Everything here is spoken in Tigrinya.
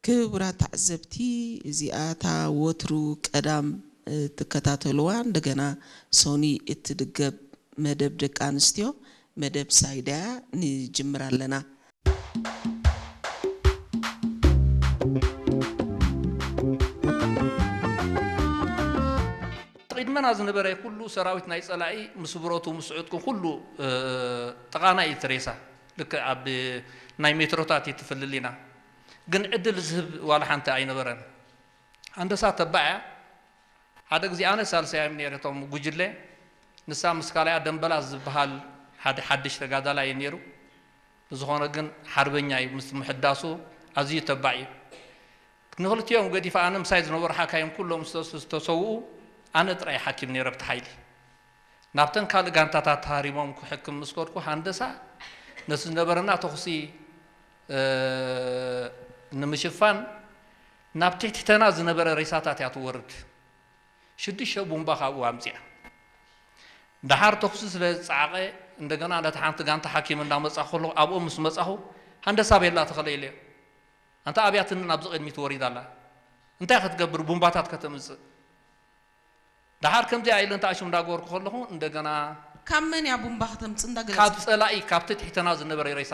ክቡራት ተዓዘብቲ፣ እዚኣ እታ ወትሩ ቀዳም እትከታተልዋ፣ እንደገና ሶኒ እትድገም መደብ ደቂ ኣንስትዮ፣ መደብ ሳይዳያ ንጅምር ኣለና። ቅድመና ዝነበረ ኩሉ ሰራዊት ናይ ጸላኢ ምስ ብረቱ ምስ ዕጥቁ ኩሉ ጥቓና እዩ እቲ ሬሳ። ልክዕ ኣብ ናይ ሜትሮታት እዩ ትፍልል ኢና። ግን ዕድል ዝህብ ዋላ ሓንቲ ኣይነበረን። ሃንደሳ ተባዕ እያ። ሓደ ግዜ ኣነ ሳልሳይ እየ ነይረ እቶም ጉጅለ። ንሳ ምስ ካልኣ ደንበላ ዝበሃል ሓደ ሓድሽ ተጋዳላይ እዩ ነይሩ። ብዝኾነ ግን ሓርበኛ እዩ። ምስ ምሕዳሱ ኣዝዩ ተባዕ እዩ። ንኽልቲኦም ገዲፈ ኣነ ምሳይ ዝነበሩ ሓካይም ኩሎም ዝተሰውኡ ኣነ ጥራይ ሓኪም ነይረ ብቲ ሓይሊ ናብተን ካልእ ጋንታታት ተሃሪሞም ክሕክም ምስ ከድኩ ሃንደሳ ነቲ ዝነበረና ተኹሲ ንምሽፋን ናብ ትሕትሕተና ዝነበረ ሬሳታት እያ ትወርድ። ሽዱሽተ ቡምባ ካብኡ ኣምፅኣ። ደሓር ተኹሲ ስለ ዝፀዓቐ እንደገና ነቲ ሓንቲ ጋንታ ሓኪም እንዳመፃ ከሎ ኣብኦም ምስ መፃኹ ሃንደሳ ቤላ ተኸለኢለዮ። ኣንታ ኣብያትኒ ናብዚ ቅድሚት ወሪዳ ኣላ። እንታይ ክትገብር ቡምባታት ከተምፅእ? ደሓር ከምዚኣ ኢለ እንተ ኣሽም እንዳገበርኩ ከለኹ እንደገና ካብ መን እያ ቡምባ ከተምፅእ እንዳገለፅ ካብ ፀላኢ ካብቲ ትሕተና ዝነበረ ሬሳ